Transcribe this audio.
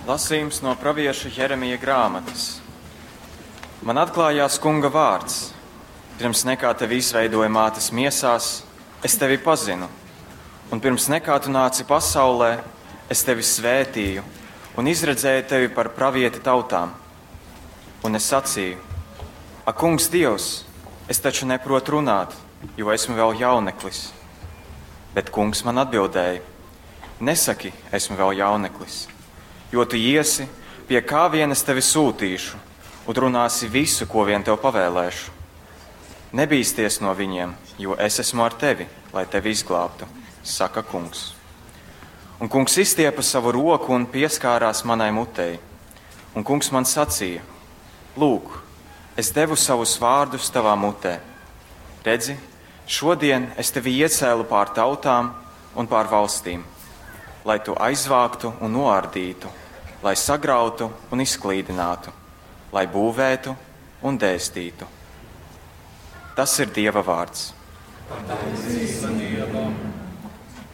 Lasījums no pravieša Jeremija grāmatas. Man atklājās kunga vārds. Pirms nekā tevi izveidoja mātes miesās, es tevi pazinu. Un pirms nekā tu nāci pasaulē, es tevi svētīju un izredzēju tevi par pravieti tautām. Un es sacīju: Ak, kungs Dievs, es taču neprotu runāt, jo esmu vēl jauneklis. Bet kungs man atbildēja: Nesaki, esmu vēl jauneklis jo tu iesi, pie kā vien es tevi sūtīšu, un runāsi visu, ko vien tev pavēlēšu. Nebīsties no viņiem, jo es esmu ar tevi, lai tevi izglābtu, saka kungs. Un kungs izstiepa savu roku un pieskārās manai mutei. Un kungs man sacīja: Lūk, es devu savus vārdus tavā mutē. Redzi, šodien es tevi iecēlu pār tautām un pār valstīm, lai tu aizvāktu un noārdītu, lai sagrautu un izklīdinātu, lai būvētu un dēstītu. Tas ir Dieva vārds. Pateicība Dievam!